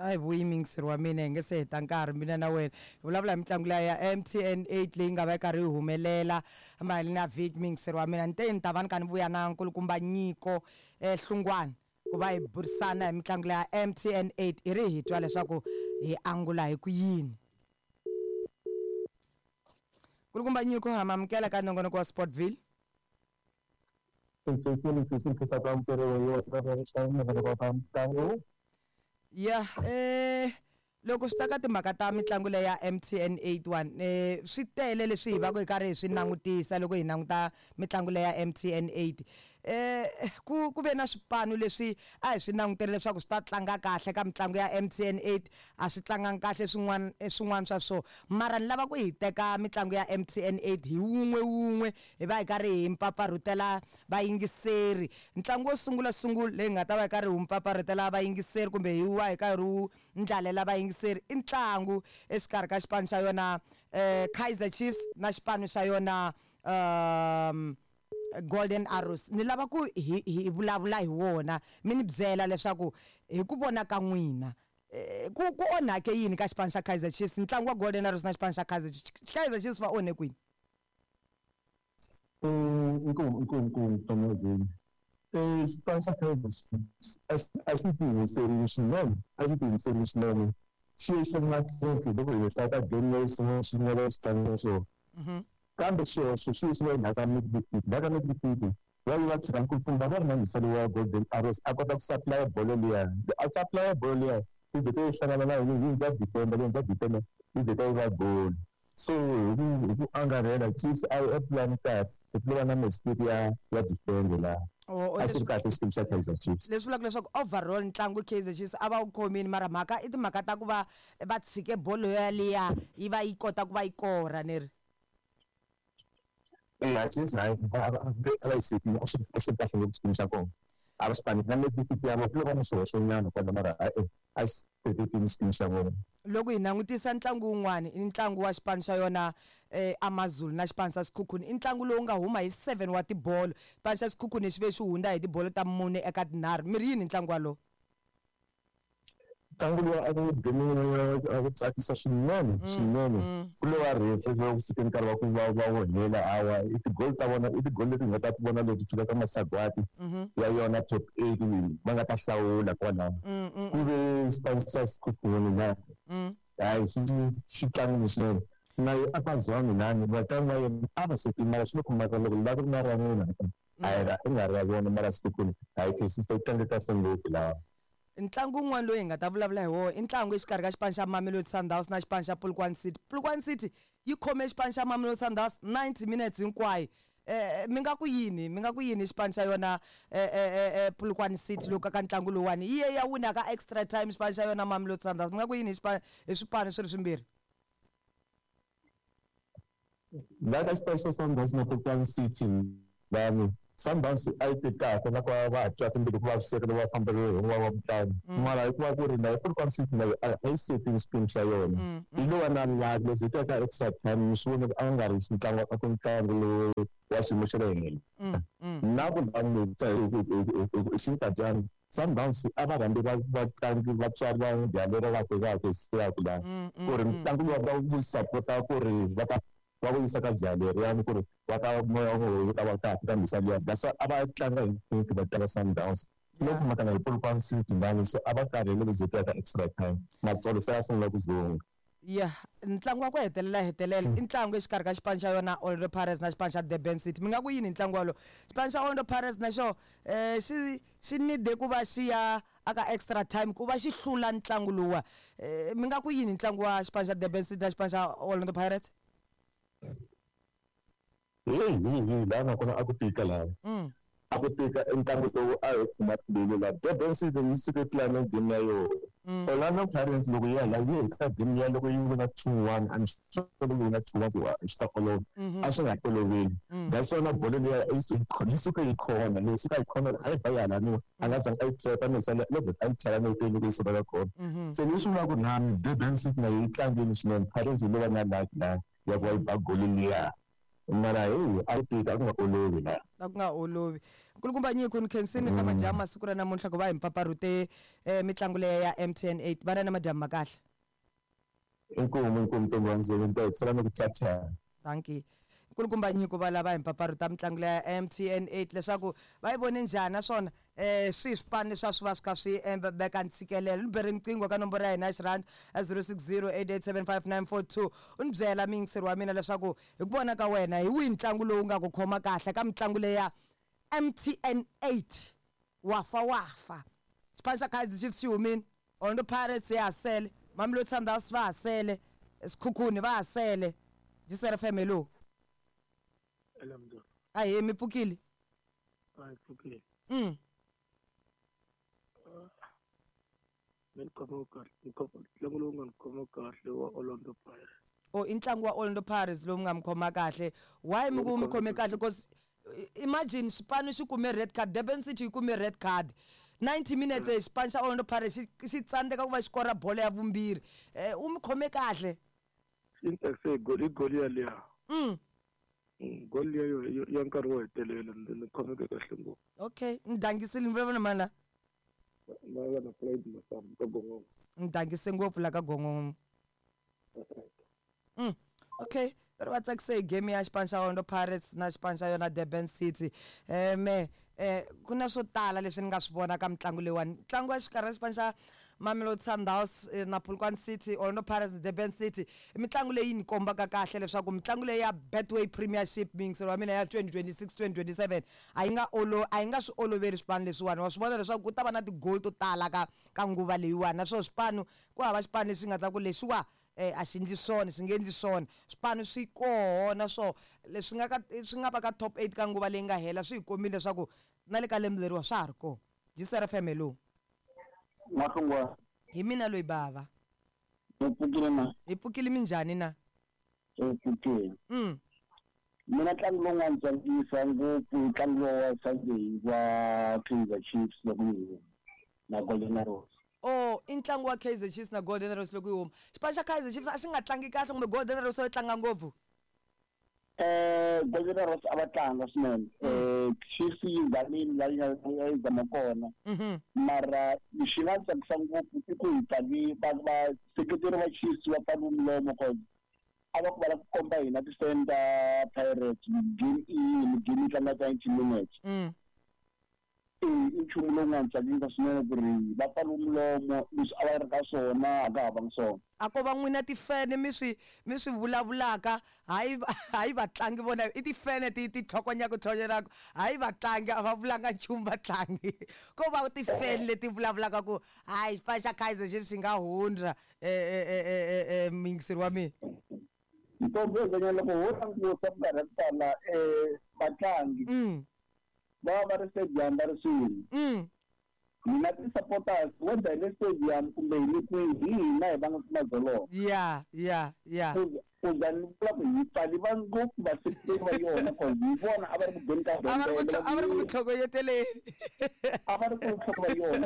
A hi vuyi muyingiseri wa mina, hi nge se heta nkarhi mina na wena hi vulavula hi mitlangu liya ya MTN 8 leyi nga va yi karhi yi humelela mayelana na vhiki. Muyingiseri wa mina, ni te ni ta va ni kha ni vuya na nkulukumba Nyiko Hlungwana ku va hi burisana hi mitlangu liya ya MTN 8, hi ri hi twa leswaku hi angula hi ku yini. Nkulukumba Nyiko, ha mi amukela ka nongonoko wa Sportville. Ya loko swi ta ka timhaka ta mitlangu leyi ya MTN 81, swi tele leswi hi va ku hi karhi hi swi langutisa loko hi languta mitlangu leyi ya MTN 8. Ku ve na swipanu leswi a hi swi langutele leswaku swi ta tlanga kahle ka mitlangu ya MTN 8, a swi tlangangi kahle swin'wana swin'wana swa swona. Mara ni lava ku hi teka mitlangu ya MTN 8 hi wun'we wun'we, hi va hi karhi hi mpfapfarhutela vayingiseri. Ntlangu wo sungula sungula leyi nga ta va hi karhi hi wu mpfapfarhutela vayingiseri kumbe hi wa hi karhi wu ndlalela vayingiseri i ntlangu exikarhi ka xipano xa yona Kaizer Chiefs na xipano xa yona Golden Arrows. Ni lava ku hi hi vulavula hi wona, mi ni byela leswaku hi ku vona ka n'wina ku onhake yini ka xipano xa Kaizer Chiefs, ntlangu wa Golden Arrows na xipano xa Kaizer Chiefs. Kaizer Chiefs va onhe kwini? Inkomu, inkomu, inkomu, Mthonyazini. Xipano xa Kaizer Chiefs a xi tiyimiserile swinene, a xi tiyimiserile swinene. Xi ye xi ri na crack loko hi hlaya ka game leyi sungula xi nga va xi tlanga xona. Kambe xihoxo xi ye xi va ndzhaku ka midfield. Ndzhaku ka midfield va yi va tshika nkulukumba va ri na mhiselo wa Golden Arrows a kota ku supply bolo liya. A supply bolo liya yi vhete yi hlangana na yini, yi hundza defender, yi hundza defender yi vheta yi va goal. So hi ku angarhela Chiefs a yi plan kahle, ku va na mistake ya defender laha. A xi ri kahle xikwembu xa Kaizer Chiefs. Leswi vulaka leswaku overall ntlangu Kaizer Chiefs a va wu khomile, mara mhaka i timhaka ta ku va va tshike bolo yaliya yi va yi kota ku va yi kora ni ri. Eya, Chiefs hayi a va yi setile, a xi ri kahle ngopfu xikimu xa kona. A va xi panile na midfield ya vona ku lo va na xihoxonyana kwala, mara e a xi setekile xikimu xa vona. Loko hi langutisa ntlangu wun'wani i ntlangu wa xipano xa yona Amazulu na xipano xa Sekhukhune. I ntlangu lowu nga huma hi 7 wa tibolo. Xipano xa Sekhukhune xi ve xi hundza hi tibolo ta 4 eka 3. Mi ri yini hi ntlangu walowo? Ntlangu lowu a ku game a ku tsakisa swinene swinene. Ku lo va referee loko ku fike nkarhi wa ku va va wu hela, hawa i ti-goal ta vona, i ti-goal leti hi nga ta ti vona leti fika ka masagwadi ya yona top 8 va nga ta hlawula kwalaho. Ku ve xipano xa Sekhukhune na hayi xi xi tlangile swinene. Na yi a ka zwangi nani vatlangi va yena a va se mara swi le khomaka loko la ku ri na ra n'wina a hi ra i nga ri ra vona, mara Sekhukhune a yi khensisa yi tlange kahle ngopfu laha. Ntlangu wun'wana lowu hi nga ta vulavula hi wona i ntlangu exikarhi ka xipano xa Mamelodi Sundowns na xipano xa Polokwane City. Polokwane City yi khome xipano xa Mamelodi Sundowns 90 minutes hinkwayo. Mi nga ku yini, mi nga ku yini hi xipano xa yona Polokwane City loko ka ntlangu lowuwani yi ye ya wina ka extra time xipano xa yona Mamelodi Sundowns. Mi nga ku yini hi xipano hi swipano swi ri swimbirhi? La ka xipano xa Sundowns na Polokwane City lani Sundowns a yi te kahle na ku va va ha twa timbilu ku vaviseka loko va famberiwe hi un'wana wa mutlangi, mara hikuva ku ri na Polokwane City na a yi setini xiphemu xa yona, yi lo va na luck leswi hi teka extra time mi swi vona ku a nga ri ntlangu a ku ntlangu lowu wa xiyimo xa le henhla. Na ku langutisa hi xinkadyana Sundowns a va rhambi va vatlangi vatswari va njhani lero va tekaka hi siyaku la ku ri ntlangu lowu va wu sapota ku ri va ta va wu yisa ka jaha leriyani ku ri va ta moya wa wu ta va kahle ka mhisa liya, that's why a va tlanga hi thinki va tlanga Sundowns loko mhaka na hi Polokwane City lani se a va karhele ku ze ka extra time matsolo se ya sungula ku dzunga. Ya ntlangu wa ku hetelela hetelela i ntlangu exikarhi ka xipano xa yona Orlando Pirates na xipano xa Durban City. Mi nga ku yini hi ntlangu wolowo? Xipano xa Orlando Pirates na xona xi xi need ku va xi ya aka extra time ku va xi hlula ntlangu lowuwa. Mi nga ku yini hi ntlangu wa xipano xa Durban City na xipano xa Orlando Pirates? Heyi heyi heyi laha nga kona a ku tika laha. A ku tika i ntlangu lowu a hi khoma timbilu laha. Durban City yi suke tlanga game ya yona. Orlando Pirates loko yi ya la yi heta game ya loko yi wina 2-1, I'm sure loko yi wina 2-1 ku swi ta olova. A swi nga oloveli. That's why na bolo liya yi suke yi khona, loko yi suka yi khona a yi ba yi halaniwa a nga zangi a yi trap-a ni sale loko a yi chela neteni loko yi suka ka khona. Se leswi vulaka ku ri na Durban City na yi tlangile swinene, Pirates yi lo va na luck laha ya ku va yi ba goli liya. Mara heyi, a ku tika, a ku nga olovi la. A ku nga olovi. Nkulukumba Nyiko, ni khensini ka madyambu masiku ra namuntlha ku va hi mpfapfarhute mitlangu leya ya MTN 8. Vana na madyambu ma kahle. Inkomu, inkomu ntombi wa ndzilo, ni ta hi tsala ni ku tshata. Dankie. Nkulukumba Nyiko va lava hi mpfapfarhuta mitlangu leya ya MTN 8 leswaku va yi vone njhani naswona swihi swipano leswi a swi va swi kha swi veka ntshikelelo. Ni bere riqingho ka nomboro ya hina ya xirhandi ya 0608875942 u ni byela muyingiseri wa mina leswaku hi ku vona ka wena hi wihi ntlangu lowu nga ku khoma kahle ka mitlangu leya MTN 8. Wafa wafa. Xipano xa Kaizer Chiefs xi humile, Orlando Pirates ya ha sele, Mamelodi Sundowns va ha sele, Sekhukhune va ha sele. Jisere FM, hello. Hello, Mzolo. Ahee, mi pfukile? A hi pfukile. Me ni khoma kahle, ni khoma ntlangu lowu nga ni khoma kahle wa Orlando Pirates. Oh, i ntlangu wa Orlando Pirates lowu nga mi khoma kahle. Why mi ku mi khome kahle? Because imagine xipano xi kume red card, Durban City yi kume red card. 90 minutes xipano xa Orlando Pirates xi xi tsandzeka ku va xi kora bolo ya vumbirhi. U mi khome kahle. Xi ni tsakise hi goli, hi goli yaliya. Goli liya yo ya nkarhi wo hetelela ni khomeke kahle ngopfu. Okay, ni dangisile ni vulavula na mani la? Na na Floyd Masambu ka Gongongo. Ni dangise ngopfu la ka Gongongo. Okay, va ri va tsakise hi game ya xipano xa Orlando Pirates na xipano xa yona Durban City. Me ku na swo tala leswi ni nga swi vona ka mitlangu leyiwani. Ntlangu wa xikarhi ka xipano xa Mamelodi Sundowns na Polokwane City, Orlando Pirates na Durban City i mitlangu leyi ni kombaka kahle leswaku mitlangu leyi ya Betway Premiership muyingiseri wa mina ya 2026 2027 a yi nga olo a yi nga swi oloveli swipano leswiwani. Wa swi vona leswaku ku ta va na ti-goal to tala ka ka nguva leyiwani naswona swipano ku hava xipano lexi nga ta ku lexiwa a xi endli swona xi nge endli swona. Swipano swi koho naswona leswi nga ka swi nga va ka top 8 ka nguva leyi nga hela swi hi kombile leswaku na le ka lembe leriwa swa ha ri kona. Jisere FM, hello. N'wahlungwana. Hi mina loyi bava. Hi pfukile na? Hi pfukile, minjhani na? Hi pfukile. Mina ntlangu lowu nga ni tsakisa ngopfu ntlangu lowu wa Sunday wa Kaizer Chiefs loko yi huma na Golden Arrows. Oh, i ntlangu wa Kaizer Chiefs na Golden Arrows loko yi huma. Xipano xa Kaizer Chiefs a xi nga tlangi kahle kumbe Golden Arrows a yi tlanga ngopfu? Golden Arrows a va tlanga swinene. Chiefs yi zamile la yi nga yi zama kona. Mara lexi nga tsakisa ngopfu i ku hi pfali va vaseketeri va Chiefs va pfali milomo cause a va ku va lava ku komba hina ti-fan ta Pirates game i yini, game yi tlanga 90 minutes. I nchumu lowu nga ni tsakisa swinene ku ri va pfaliwe milomo leswi a va ri ka swona a ka ha vangi swona. A ko va n'wina tifene mi swi mi swi vulavulaka hayi hayi vatlangi vona i tifene ti ti tlhokonyaka tlhokonyelaka hayi vatlangi a va vulanga nchumu vatlangi ko va tifene leti vulavulaka ku hayi xipano xa Kaizer Chiefs xi nga hundza muyingiseri wa mina. Ntombi yo loko ho languta minkarhi ya ku tala vatlangi va va va ri stadium va ri swin'we. Hina ti-supporters whether hi le stadium kumbe hi le kwihi hi hina hi vangaka madzolonga. Ya ya ya. Ku za ni vula ku hi pfali va ngopfu vaseketeri va yona cause hi vona a va ri ku beni ka A va ri ku a va ri ku mi tlhokonyeteleni. A va ri ku nhloko va yona.